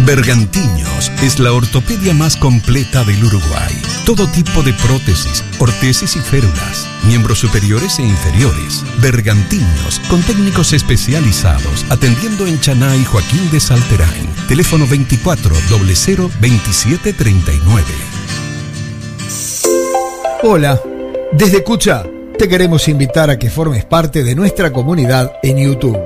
Bergantiños es la ortopedia más completa del Uruguay. Todo tipo de prótesis, ortesis y férulas, miembros superiores e inferiores. Bergantiños, con técnicos especializados, atendiendo en Chaná y Joaquín de Salterain. Teléfono 24 00 27 39. Hola, desde Cucha te queremos invitar a que formes parte de nuestra comunidad en YouTube.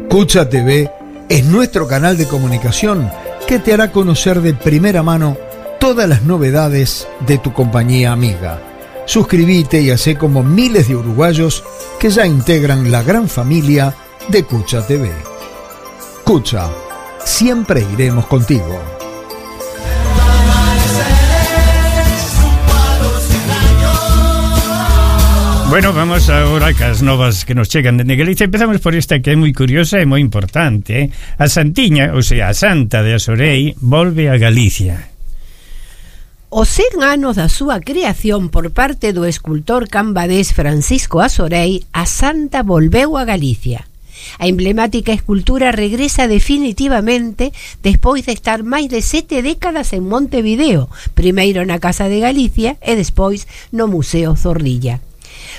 Cucha TV es nuestro canal de comunicación que te hará conocer de primera mano todas las novedades de tu compañía amiga. Suscríbete y hacé como miles de uruguayos que ya integran la gran familia de Cucha TV. Cucha, siempre iremos contigo. Bueno, vamos agora cas novas que nos chegan dende Galicia. Empezamos por esta que é moi curiosa e moi importante, A Santiña, ou sea, a Santa de Asorei, volve a Galicia. Os 100 anos da súa creación por parte do escultor cambadés Francisco Asorei, a Santa volveu a Galicia. A emblemática escultura regresa definitivamente despois de estar máis de 7 décadas en Montevideo, primeiro na Casa de Galicia e despois no Museo Zorrilla.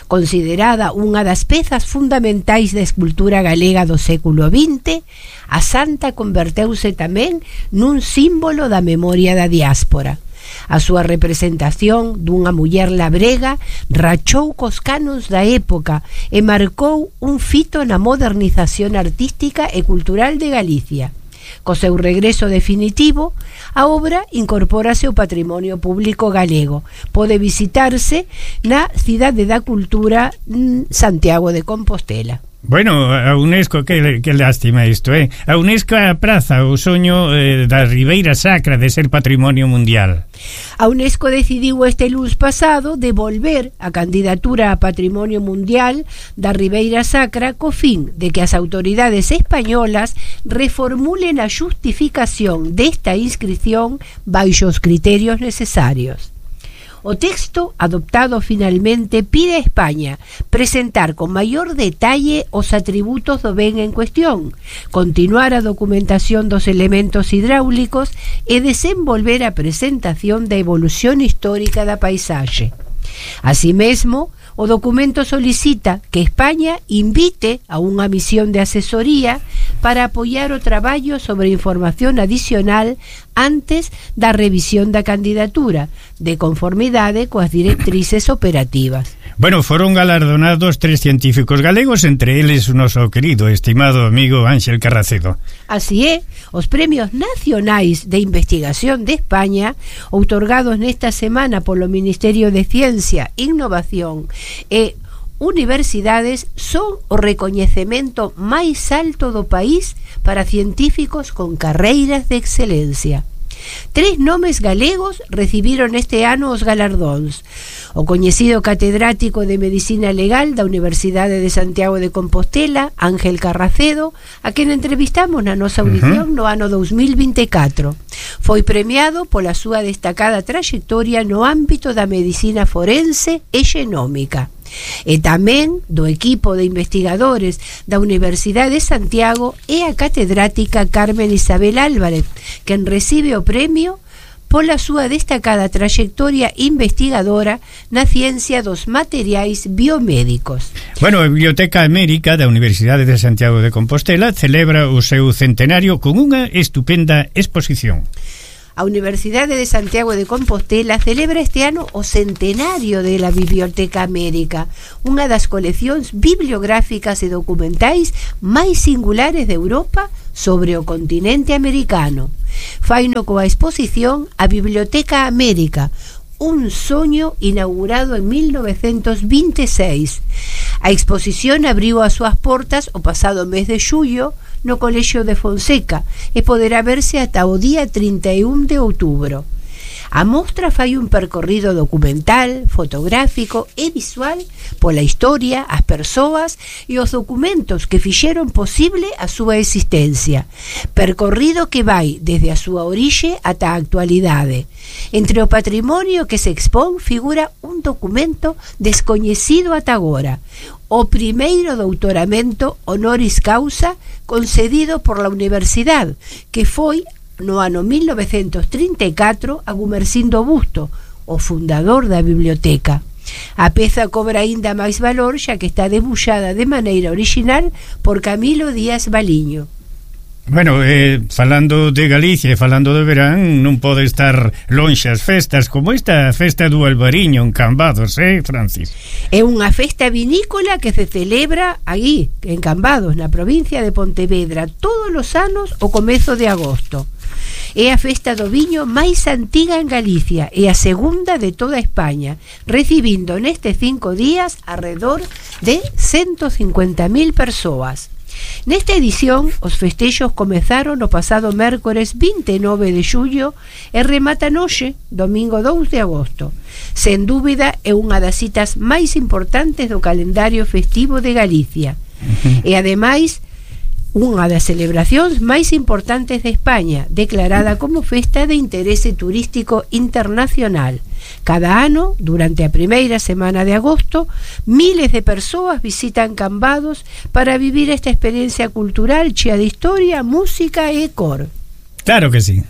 Considerada unha das pezas fundamentais da escultura galega do século XX, a Santa converteuse tamén nun símbolo da memoria da diáspora. A súa representación dunha muller labrega rachou cos canos da época e marcou un fito na modernización artística e cultural de Galicia. Co seu regreso definitivo, a obra incorpórase ao patrimonio público galego. Pode visitarse na Cidade da Cultura, Santiago de Compostela. Bueno, a UNESCO, que lástima isto, A UNESCO apraza o soño da Ribeira Sacra de ser patrimonio mundial. A UNESCO decidiu este luns pasado devolver a candidatura a patrimonio mundial da Ribeira Sacra co fin de que as autoridades españolas reformulen a xustificación desta inscripción baixo os criterios necesarios. O texto adoptado finalmente pide a España presentar con maior detalle os atributos do ben en cuestión, continuar a documentación dos elementos hidráulicos e desenvolver a presentación da evolución histórica da paisaxe. Así mesmo, o documento solicita que España invite a unha misión de asesoría para apoiar o traballo sobre información adicional antes da revisión da candidatura, de conformidade coas directrices operativas. Bueno, foron galardonados 3 científicos galegos, entre eles o noso querido, estimado amigo Ángel Carracedo. Así é, os premios nacionais de investigación de España, outorgados nesta semana polo Ministerio de Ciencia, Innovación e Universidades, son o recoñecemento máis alto do país para científicos con carreiras de excelencia. 3 nomes galegos recibiron este ano os galardóns. O coñecido catedrático de Medicina Legal da Universidade de Santiago de Compostela, Ángel Carracedo, a quen entrevistamos na nosa audición no ano 2024. Foi premiado pola súa destacada traxectoria no ámbito da medicina forense e xenómica. E tamén do equipo de investigadores da Universidade de Santiago e a catedrática Carmen Isabel Álvarez, quen recibe o premio pola súa destacada traxectoria investigadora na ciencia dos materiais biomédicos. Bueno, a Biblioteca América da Universidade de Santiago de Compostela celebra o seu centenario con unha estupenda exposición. A Universidade de Santiago de Compostela celebra este ano o centenario de la Biblioteca América, unha das coleccións bibliográficas e documentais máis singulares de Europa sobre o continente americano. Faino coa exposición A Biblioteca América, un soño inaugurado en 1926. A exposición abriu as súas portas o pasado mes de xullo no Colexio de Fonseca e poderá verse ata o día 31 de outubro. A mostra fai un percorrido documental, fotográfico e visual pola historia, as persoas e os documentos que fixeron posible a súa existencia. Percorrido que vai desde a súa orixe ata a actualidade. Entre o patrimonio que se expón figura un documento descoñecido ata agora, o primeiro doutoramento honoris causa concedido por la universidade, que foi no ano 1934 a Gumersindo Busto, o fundador da biblioteca. A peza cobra aínda máis valor xa que está debuxada de maneira original por Camilo Díaz Baliño. Bueno, falando de Galicia e falando de verán, non pode estar lonxe as festas como esta festa do Albariño en Cambados, Francis? É unha festa vinícola que se celebra aí, en Cambados, na provincia de Pontevedra, todos os anos o comezo de agosto. É a festa do viño máis antiga en Galicia e a segunda de toda España, recibindo nestes 5 días alrededor de 150.000 persoas. Nesta edición, os festexos comezaron o pasado mércores 29 de xullo e rematan hoxe, domingo 2 de agosto. Sen dúbida, é unha das citas máis importantes do calendario festivo de Galicia. E ademais, unha das celebracións máis importantes de España, declarada como festa de interese turístico internacional. Cada ano, durante a primeira semana de agosto, miles de persoas visitan Cambados para vivir esta experiencia cultural chea de historia, música e cor. Claro que sí.